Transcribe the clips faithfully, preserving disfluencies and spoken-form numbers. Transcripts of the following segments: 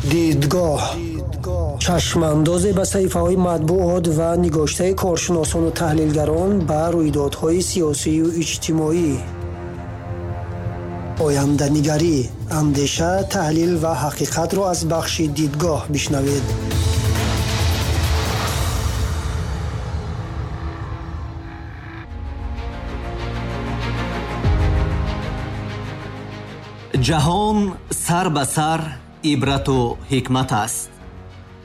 Дидгоҳ чашмандозе ба саҳифаҳои матбуот ва нигоштаи коршиносону таҳлилгарон ба рӯйдодҳои сиёсию иҷтимоӣ. Оянданигарӣ, андеша, таҳлил ва ҳақиқатро аз бахши дидгоҳ бишнавед. Ҷаҳон сар ба сар ибрату ҳикмат аст.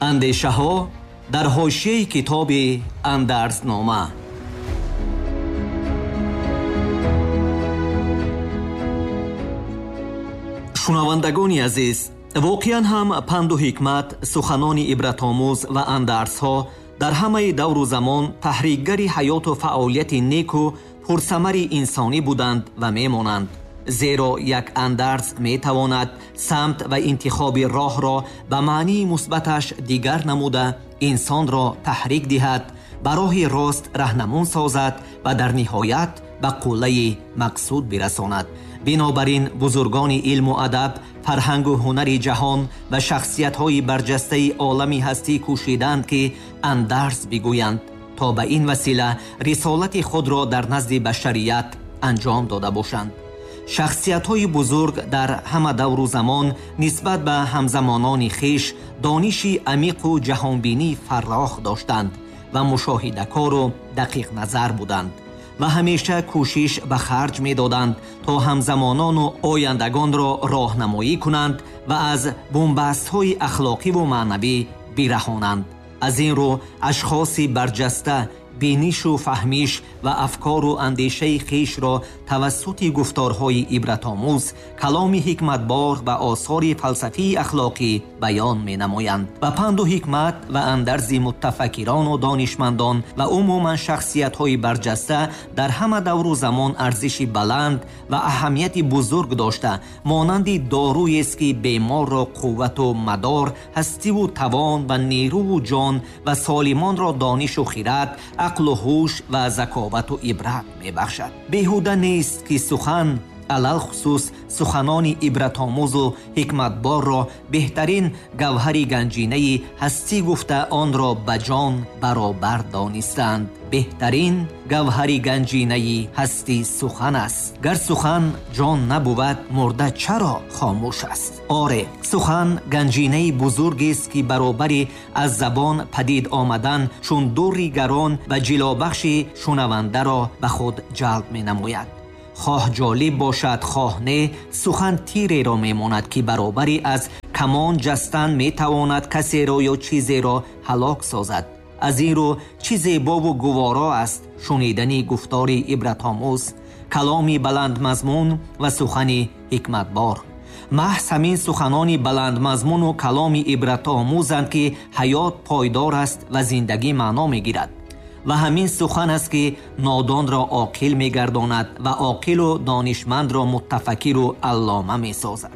Андешаҳо дар ҳошияи китоби Андарзнома. Шунавандагони азиз, воқеан ҳам панду ҳикмат, суханони ибратомӯз ва андарзҳо дар ҳамаи давру замон таҳрикгари ҳаёту фаъолияти неку пурсамари инсонӣ буданд ва мемонанд. Зеро як андарз метавонад самт ва интихоби роҳро ба маънии мусбаташ дигар намуда инсонро таҳрик диҳад, ба роҳи рост раҳнамун созад ва дар ниҳоят ба қуллаи мақсуд бирасонад. Бинобар ин бузургони илму адаб, фарҳангу ҳунари ҷаҳон ва шахсиятҳои барҷастаи олами ҳастӣ кӯшиданд, ки андарз бигӯянд, то ба ин васила рисолати худро дар назди башарият анҷом дода бошанд. Шахсиятҳои бузург дар ҳама давру замон нисбат ба ҳамзамонони хеш дониши амиқу ҷаҳонбинии фаррох доштанд ва мушоҳидакору дақиқназар буданд ва ҳамеша кӯшиш ба харҷ медоданд, то ҳамзамонону ояндагонро роҳнамоӣ кунанд ва аз бунбастҳои ахлоқиву маънавӣ бираҳонанд. Аз ин рӯ ашхоси барҷаста бинишу фаҳмиш ва афкору андешаи хешро тавассути гуфторҳои ибратомӯз, каломи ҳикматбор ва осори фалсафии ахлоқӣ баён менамоянд. Ва панду ҳикмат ва андарзи муттафаккирону донишмандон ва умуман шахсиятҳои барҷаста дар ҳама давру замон арзиши баланд ва аҳамияти бузург дошта, монанди доруест, ки беморро қуввату мадор, ҳастиву тавон ва нерӯву ҷон ва солимонро донишу хират, ақлу ҳуш ва заковату ибрат мебахшад. Беҳуда нест, ки сухан, алалхусус суханони ибратомӯзу ҳикматборро беҳтарин гавҳари ганҷинаи ҳастӣ гуфта онро ба ҷон баробар донистанд. Беҳтарин гавҳари ганҷинаи ҳастӣ сухан аст. Гар сухан ҷон набувад, мурда чаро хомӯш аст? Оре, сухан ганҷинаи бузургест, ки баробари аз забон падид омадан чун дурри гарон ва ҷилобахши шунавандаро ба худ ҷалб менамояд. Хоҳ ҷолиб бошад, хоҳ не, сухан тиреро мемонад, ки баробари аз камон ҷастан метавонад касеро ё чизеро ҳалок созад. Аз ин рӯ чӣ зебову гуворо аст шунидани гуфтори ибратомӯз, каломи баландмазмун ва сухани ҳикматбор. Маҳз ҳамин суханони баландмазмуну каломи ибратомӯзанд, ки ҳаёт пойдор аст ва зиндагӣ маъно мегирад. Ва ҳамин сухан аст, ки нодонро оқил мегардонад ва оқилу донишмандро муттафаккиру аллома месозад.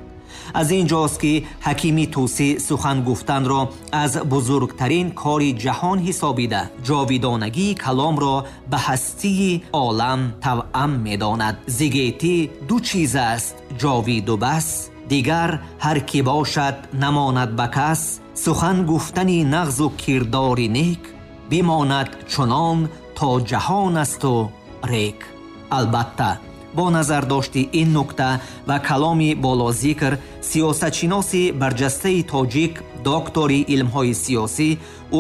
Аз ин ҷост, ки ҳакими тӯсӣ сухан гуфтанро аз бузургтарин кори ҷаҳон ҳисобида, ҷовидонагии каломро ба ҳастии олам тавъам медонад. Зигетӣ ду чиз аст, ҷовиду бас, дигар ҳар ки бошад намонад ба кас. Сухан гуфтани нағзу кирдори нек бимонад чунон то ҷаҳон асту рек. Албатта, бо назардошти ин нукта ва каломи болозикр, сиёсатшиноси барҷастаи тоҷик, доктори илмҳои сиёсӣ,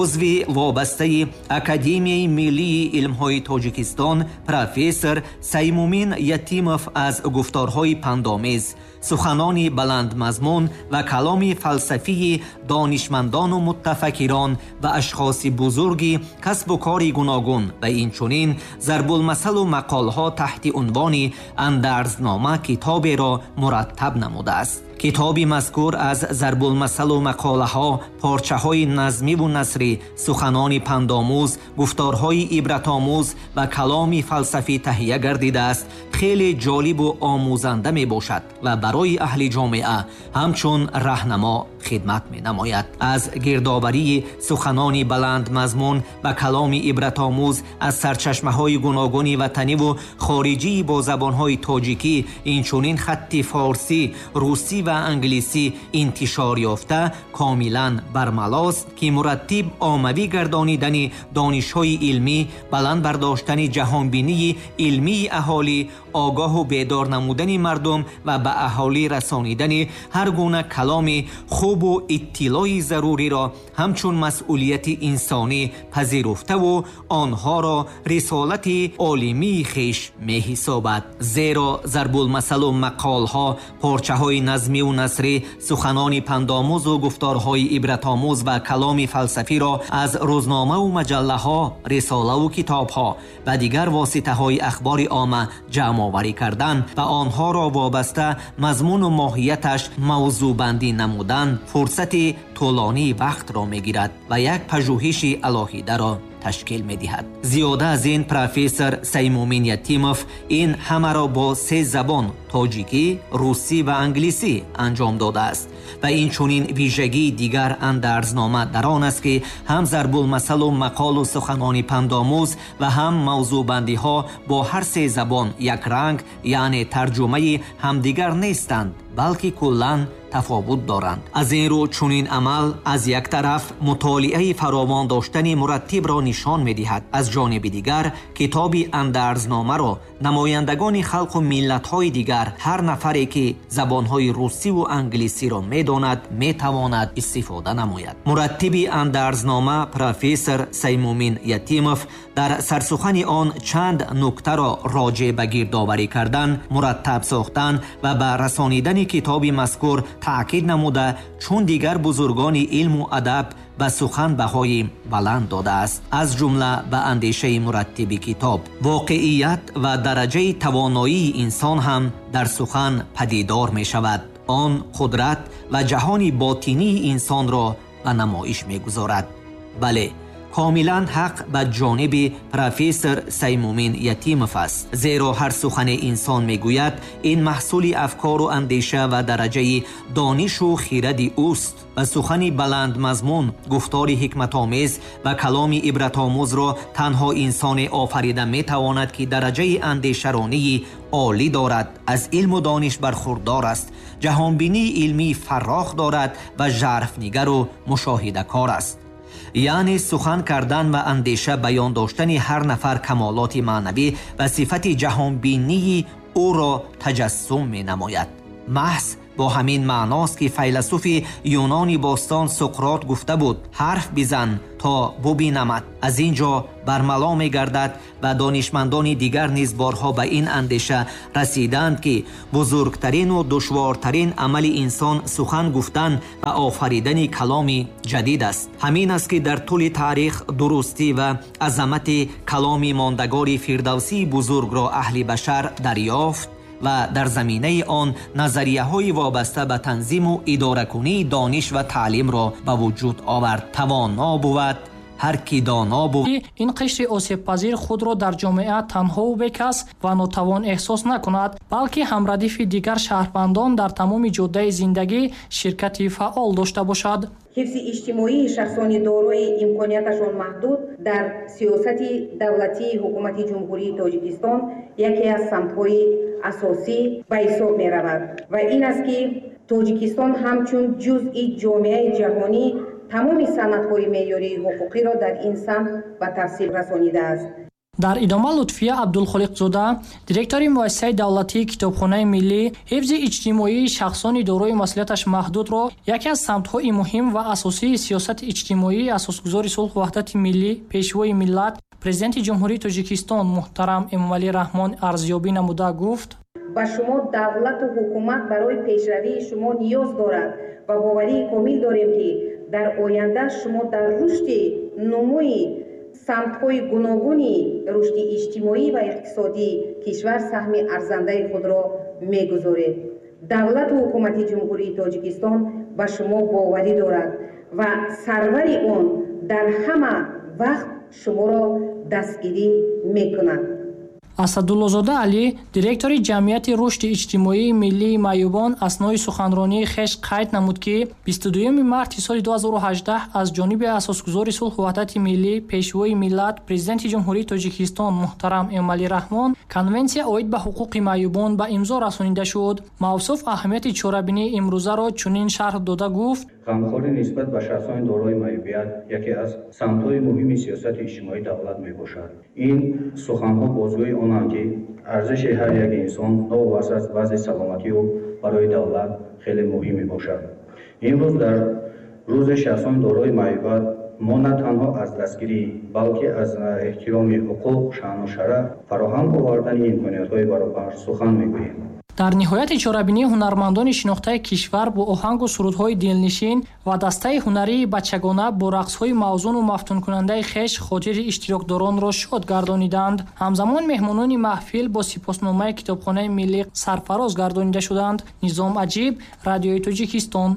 узви вобастаи Академияи миллии илмҳои Тоҷикистон, профессор Саймумин Ятимов аз гуфторҳои пандомез, суханони баландмазмун ва каломи фалсафии донишмандону муттафаккирон ва ашхоси бузурги касбу кори гуногун ва инчунин зарбулмасалу мақолҳо таҳти унвони Андарзнома китоберо мураттаб намудааст. Китоби мазкур аз зарбулмасалу мақолаҳо, порчаҳои назмиву насрӣ, суханони пандомӯз, гуфторҳои ибратомӯз ва каломи фалсафӣ таҳия гардидааст, хеле ҷолибу омӯзанда мебошад ва барои аҳли ҷомеа ҳамчун раҳнамо хидмат менамояд. Аз гирдоварии суханони баландмазмун ва каломи ибратомӯз аз сарчашмаҳои гуногуни ватаниву хориҷӣ бо забонҳои тоҷикӣ, инчунин хатти форсӣ, русӣ ва англисӣ интишор ёфта комилан бармалост, ки мураттиб оммавӣ гардонидани донишҳои илмӣ, баланд бардоштани ҷаҳонбинии илмии аҳолӣ, огоҳу бедор намудани мардум ва ба аҳолӣ расонидани ҳар гуна каломи хубу иттилои заруриро ҳамчун масъулияти инсонӣ пазируфтаву онҳоро рисолати олимии хеш меҳисобад. Зеро зарбулмасалу мақолҳо, порчаҳои назмиву насрӣ, суханони пандомӯзу гуфторҳои ибратомӯз ва каломи фалсафиро аз рӯзномаву маҷаллаҳо, рисолаву китобҳо ва дигар воситаҳои ахбори омма ҷамъоварӣ кардан ва онҳоро вобаста мазмуну моҳияташ мавзӯъбандӣ намудан фурсати тӯлонии вақтро мегирад ва як пажӯҳиши алоҳидаро ташкил медиҳад. Зиёда аз ин профессор Саймумин Ятимов ин ҳамаро бо се забон тоҷикӣ, русӣ ва англисӣ анҷом додааст ва инчунин вижагии дигар андарзнома дар он аст, ки ҳам зарбулмасалу мақолу суханони пандомӯз ва ҳам мавзӯъбандиҳо бо ҳар се забон якранг, яъне тарҷумаи ҳамдигар нестанд, балки куллан тафовут доранд. Аз ин рӯ чунин амал аз як тараф мутолиаи фаровон доштани мураттибро нишон медиҳад, аз ҷониби дигар китоби андарзномаро намояндагони халқу миллатҳои дигар, ҳар нафаре ки забонҳои русиву англисиро медонад, метавонад истифода намояд. Мураттиби андарзнома профессор Саймумин Ятимов дар сарсухани он чанд нуктаро роҷеъ ба гирдоварӣ кардан, мураттаб сохтан ва ба расонидани китоби мазкур таъкид намуда, чун дигар бузургони илму адаб ба сухан баҳои баланд додааст, аз ҷумла ба андешаи мураттиби китоб. Воқеият ва дараҷаи тавоноии инсон ҳам дар сухан падидор мешавад. Он қудрат ва ҷаҳони ботинии инсонро ба намоиш мегузорад. Бале, комилан ҳақ ба ҷониби профессор Саймумин Ятимов аст, зеро ҳар сухане инсон мегӯяд ин маҳсули афкору андеша ва дараҷаи донишу хиради ӯст ва сухани баландмазмун, гуфтори ҳикматомез ва каломи ибратомӯзро танҳо инсоне офарида метавонад, ки дараҷаи андешаронии олӣ дорад, аз илму дониш бархурдор аст, ҷаҳонбинии илмии фаррох дорад ва жарфнигару мушоҳидакор аст. Яъне сухан кардан ва андеша баён доштани ҳар нафар камолоти маънавӣ ва сифати ҷаҳонбинии ӯро таҷассум менамояд. Маҳз бо ҳамин маъност, ки файласуфи юнони бостон Суқрот гуфта буд: ҳарф бизан то бубинамад. Аз ин ҷо бармало мегардад ва донишмандони дигар низ борҳо ба ин андеша расиданд, ки бузургтарину душвортарин амали инсон сухан гуфтан ва офаридани каломи ҷадид аст. Ҳамин аст, ки дар тӯли таърих дурустӣ ва азамати каломи мондагори фирдавсии бузургро аҳли башар дарёфт ва дар заминаи он назарияҳои вобаста ба танзиму идоракунии дониш ва таълимро ба вуҷуд овард. Тавоно бувад ҳар ки доно буд. Ин қишри осебпазир худро дар ҷомеа танҳову бекас ва нотавон эҳсос накунад, балки ҳамрадифи дигар шаҳрвандон дар тамоми ҷодаи зиндагӣ ширкати фаъол дошта бошад. Ҳифзи иҷтимоии шахсони дорои имконияташон маҳдуд дар сиёсати давлатии ҳукумати Ҷумҳурии Тоҷикистон яке аз самтҳои асосӣ ба ҳисоб меравад ва ин аст, ки Тоҷикистон ҳамчун ҷузъи ҷомеаи ҷаҳонӣ тамоми санадҳои меъёрии ҳуқуқиро дар ин самт ба тафсил расонидааст. Дар идома Лутфия Абдулхолиқзода, директори муассисаи давлатии Китобхонаи миллӣ, ҳифзи иҷтимоии шахсони дорои масъулияташ маҳдудро яке аз самтҳои муҳим ва асосии сиёсати иҷтимоии асосгузори сулҳу ваҳдати миллӣ, пешвои миллат, президенти Ҷумҳурии Тоҷикистон муҳтарам Эмомалӣ Раҳмон арзёбӣ намуда гуфт: ба шумо давлату ҳукумат барои пешравии шумо ниёз дорад ва боварии комил дорем, ки дар оянда шумо дар рушди нумӯи самтҳои гуногуни рушди иҷтимоӣ ва иқтисодии кишвар саҳми арзандаи худро мегузоред. Давлату ҳукумати Ҷумҳурии Тоҷикистон ба шумо боварӣ дорад ва сарвари он дар ҳама вақт шуморо дастгирӣ мекунад. Асадуллозода Алӣ, директори ҷамъияти рушди иҷтимоии миллии маъюбон, аснои суханронии хеш қайд намуд, ки бисту дуюми марти соли ду ҳазору ҳаждаҳ аз ҷониби асосгузори сулҳу ваҳдати миллӣ, пешвои миллат, президенти Ҷумҳурии Тоҷикистон муҳтарам Эмомалӣ Раҳмон конвенсия оид ба ҳуқуқи маъюбон ба имзо расонида шуд. Мавсуф аҳамияти чорабинии имрӯзаро чунин шарҳ дода гуфт: ғамхорӣ нисбат ба шахсони дорои маъюбият яке аз самтҳои муҳими сиёсати иҷтимоии давлат мебошад. Ин суханҳо бозгӯи онанд, ки арзиши ҳар як инсон новобаста аз вазъи саломатии ӯ барои давлат хеле муҳим мебошад. Имрӯз дар рӯзи шахсони дорои маъюбият мо на танҳо аз дастгирӣ, балки аз эҳтироми ҳуқуқ, шаъну шараф, фароҳам овардани имкониятҳои баробар сухан мегӯем. Дар ниҳояти чорабинии ҳунармандони шинохтаи кишвар бо оҳангу сурудҳои дилнишин ва дастаи ҳунарии бачагона бо рақсҳои мавзуну мафтункунандаи хеш хотири иштирокдоронро шод гардониданд. Ҳамзамон меҳмонони маҳфил бо сипосномаи китобхонаи миллӣ сарфароз гардонида шуданд. Низом Аҷиб, Радиои Тоҷикистон.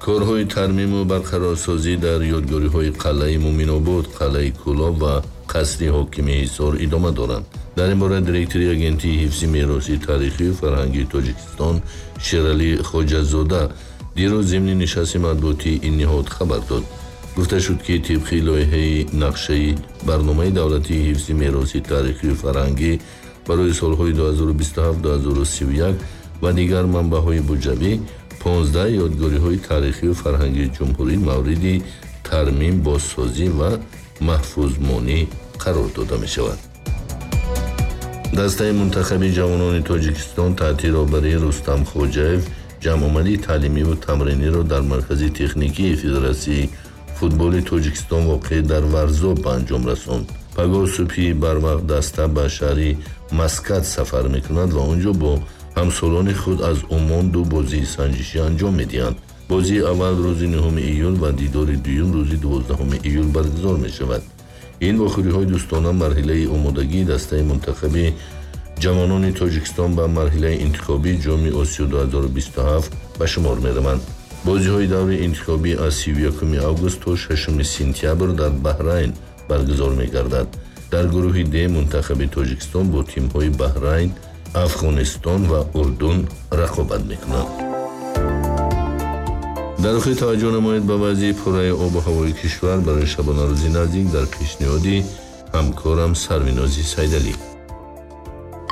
Корҳои тармиму барқарорсозӣ дар ёдгориҳои қалъаи Муминобод, қалъаи Кӯлоб ва қасри ҳокими Ҳисор идома доранд. Дар ин бора директори агентии ҳифзи мероси таърихию фарҳангии Тоҷикистон Шералӣ Хоҷазода дирӯз зимни нишасти матбуотии ин ниҳод хабар дод. Гуфта шуд, ки тибқи лоиҳаи нақшаи барномаи давлатии ҳифзи мероси таърихию фарҳангӣ барои солҳои ду ҳазору бисту ҳафт ду ҳазору сию як ва дигар манбаъҳои буҷавӣ понздаҳ ёдгориҳои таърихию фарҳангии ҷумҳурӣ мавриди тармим, бозсозӣ ва маҳфузмонӣ қарор дода мешавад. Дастаи мунтахаби ҷавонони Тоҷикистон таҳти роҳбарии Рустам Хоҷаев ҷамъомади таълимиву тамриниро дар маркази техникии Федератсияи футболи Тоҷикистон воқеъ дар Варзоб ба анҷом расонд. Пагоҳ субҳи барвақт даста ба шаҳри Маскат сафар мекунад ва онҷо бо ҳамсолони худ аз Умон ду бозии санҷишӣ анҷом медиҳанд. Бозии аввал рӯзи нӯҳуми июл ва дидори дуюм рӯзи дувоздаҳуми июл баргузор мешавад. Ин вохӯриҳои дӯстона марҳилаи омодагии дастаи мунтахаби ҷавонони Тоҷикистон ба марҳилаи интихобии ҷоми Осиё ду ҳазору бисту ҳафт ба шумор мераванд. Бозиҳои даври интихобӣ аз сию якуми август то шашуми сентябр дар Баҳрайн баргузор мегардад. Дар гурӯҳи Д мунтахаби Тоҷикистон бо тимҳои Баҳрайн, Афғонистон ва Урдун рақобат мекунанд. Дар охир таваҷҷӯҳ намоед ба вазъи пурраи обу ҳавои кишвар барои шабонарӯзи наздик дар пешниҳоди ҳамкорам Сарвинози Сайдалӣ.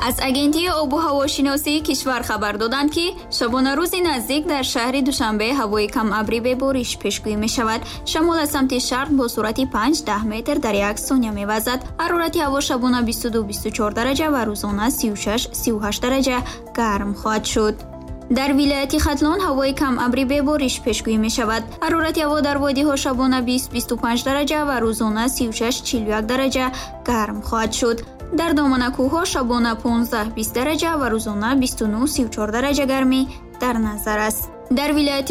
Аз агентии обу ҳавошиносии кишвар хабар доданд, ки шабонарӯзи наздик дар шаҳри Душанбе ҳавои камабрӣ бебориш пешгӯӣ мешавад. Шамол аз самти шарқ бо суръати панҷ даҳ метр дар як сония мевазад. Ҳарорати ҳаво шабона бисту ду бисту чор дараҷа ва рӯзона сию шаш сию ҳашт дараҷа гарм хоҳад шуд. Дар вилояти Хатлон ҳавои камабрӣ бебориш пешгӯӣ мешавад. Ҳарорати ҳаво дар водиҳо шабона бист бисту панҷ дараҷа ва рӯзона сию шаш чилу як дараҷа гарм хоҳад шуд. Дар доманакӯҳҳо шабона понздаҳ бист дараҷа ва рӯзона бисту нӯҳ сию чор дараҷа гармӣ дар назар аст. Дар вилояти